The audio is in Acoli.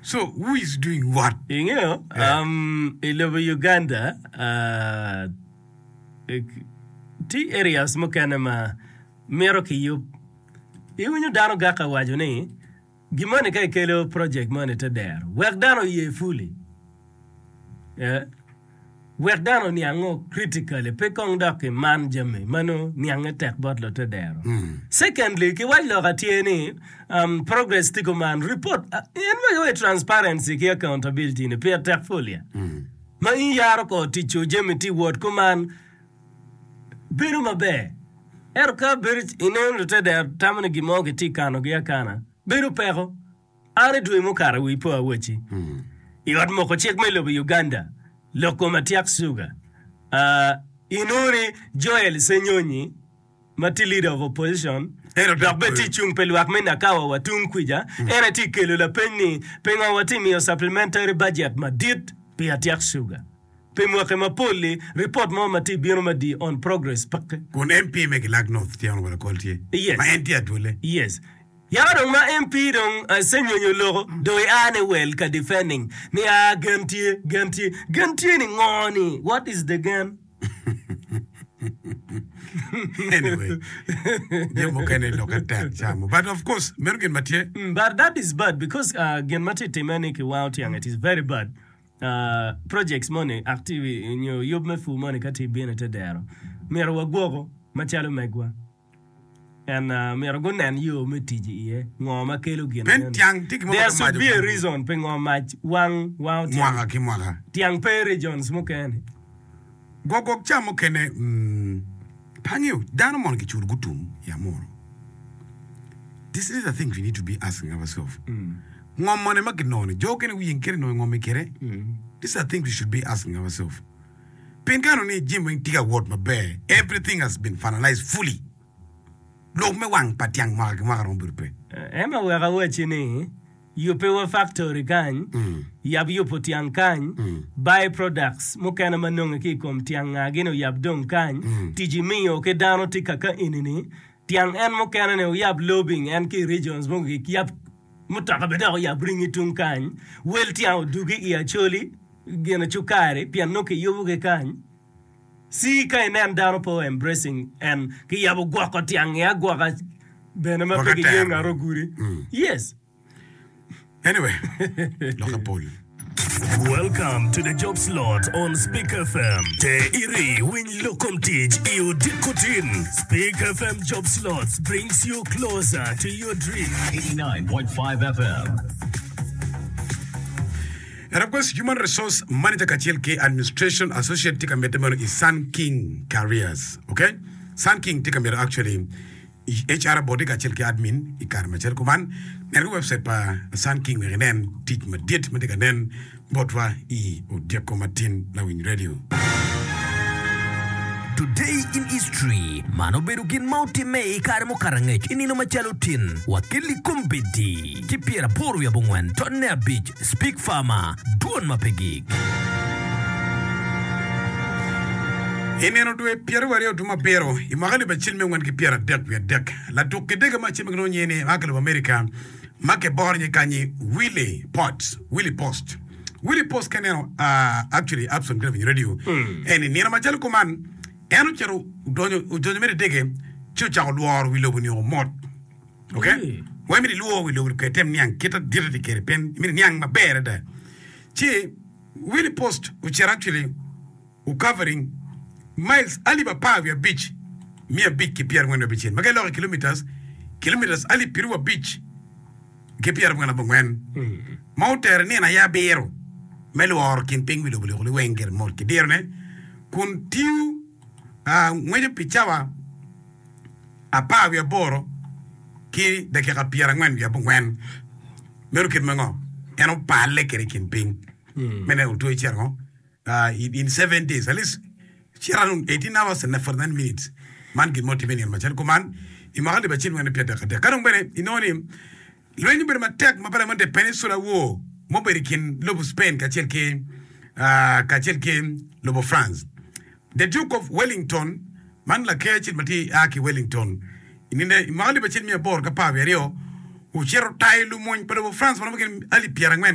So who is doing what? Ingeyo, um, i lobo Uganda, uh, tye areas mukene ma mito kiyub. Iwinyo dano gaka waco ni gin moni ka ikelo project moni ite dero wek dano oye fully. Eh, Wek dano oniango critically pe kong dok ki man jami ma nongo niange tek bot lute dero. Secondly, ki wac lok atye ni um, progress tye kuman, report uh, en ma giwaco transparency ki accountability ni pire tek full ya. Ma in yaro kor ticco jami tye wot kuman bedo maber. Ento ka bedo ineno lute dero tamo ni gin mo kitye kanogi akana bedo peko. An i dwe mukato wi po awacci i ot moko cik me lobo Uganda lok kom atyak suga. Inongo ni Joel Ssenyonyi ma tye leader of opposition dok bene tye cung pi lwak me Nakawa wa tung kwica en aye tye kelo lapeny ni pingo watye miyo supplementary budget madit pi atyak suga pi mwaki mapol-li ripot mo ma tye bino madii on progress peke. Kun MP me Kilak North tye Honourable Akol tye ma en tye adwole. Yes. Yaka dong ma MP dong Ssenyonyi oloko dong ia ni well ka defending ni aa gen tye, gen tye, gen tye ni ngo ni what is the gen? Anyway, jami mukene lokke tek camo but of course meno gin ma tye. Mm, but that is bad because uh, gin ma tye time ni kiwango tyang it is very bad. Uh, projects moni active nyo yub me pur moni ka tye bino ite dero myero wagwoko macalo megwa. En myero gunen yo me tic iye, ngo ma kelo gin Pien meno. tyang tye gin mo There ma should mac be a obuto reason pingo mac wang wango tyang. mwaka ki mwaka. Tyang pe i regions mukene. Gwok gwok ca mukene mm, pe angeyo dano mono giculo gutum i Amuru. This is the thing we need to be asking ourselves. Ngom mone ma ginongo ni jo okene wiyeng kene nongo ngom i kede. These are things we should be asking ourselves. Pien ka ineno ni jami weng tye ka wot maber, everything has been finalized fully, lok me wang pa tyang mwaka ki mwaka romo bedo pe. Emma wek awacci ni, yubbe wa factory kany, yab yubo tyang kany, by products mukene ma nonge ki i kom tyang nga gini oyab dong kany, tic imiyo ki dano tye kaka enini, tyang en mukene ni oyab lobbying en ki i regions mogo ki yab mutoka bene dok oyab ringi tung kany, wel tyang odugi i Acholi. Gin cukari pien nongo kiyubo ki kany ci ka inen dano pe o embracing en kiyabo gwoko tyangi agwoka bene ma pe kiye ngat ogudi yes. Anyway, lokke pol. Welcome to the job slot on Speak FM. Te iri winy lok kom tic i odiko tin. Speak FM Job Slots brings you closer to your dream. 89.5 FM. Request Human Resource Manager kacel ki Administration Associate tye ka medde meno i Sun King Careers. Ok? Sun King tye ka myero actually HR boti kacel ki admin i kare macel kuman. Nen ki website pa Sun King wek inen tic madit ma tye ka nen botwa i odyeko matin lawiny radio. Today in History, Man obedo gin ma otimme i kare mukato angec i nino macalo tin wa kelli kombeddi ki pyeraboro wiye abongwen tonne abic Speak Farmer, Dwon ma pe gik. I nino dwe pyeraryo dwe me abiro i mwaka alip acel miya angwen ki pyeradek wiye adek, latuk kidege mo acel ma kilwongo nyinge ni a ki lobo Amerika ma kiboro nyinge kany-nyi Willie Potts, Willie Post. Willie Post ka ineno actually Abson ki lawiny radio eni nino macalo kuman en ocito odonyo odonyo mere idege ci ocako lworo wi lobo nio mot. Ok? Wai myero ilwor wi lobo kede item niang kit adita tye kwede pien myero iniang maber adada. Ci Willie Post ocito actually o covering miles alip apar wiye abic miya abic ki pyerangwen wiye abicel ma ka iloko i kilometers, kilometers alip pyeraryo abic ki pyerabongwen abongwen ma otere nino aye abiro me lworo kin piny wi lobo liko liweng gire mot ki dirone kun tiyo ngweco pi cawa apar wiye aboro ki dakika pyerangwen wiye abongwen. Meno kit me ngo? En opalle kwede i kin piny me neno otwo icito ngo in 7 days at least cito around 18 hours and 49 minutes. Man gin ma otimme i nino macalo kuman i mwaka alip acel miya pyeradek adek. Ka dong bene inongo ni Lweny obedo matek ma pala the Peninsula War ma obedo i kin lobo Spain kacel ki kacel ki lobo France. The Duke of Wellington, man laker acel ma tye a ki Wellington, i nino i mwaka alip acel miya aboro ki apar wiye aryo, ocito otayo lumony pa lobo France ma romo gin alip pyerangwen.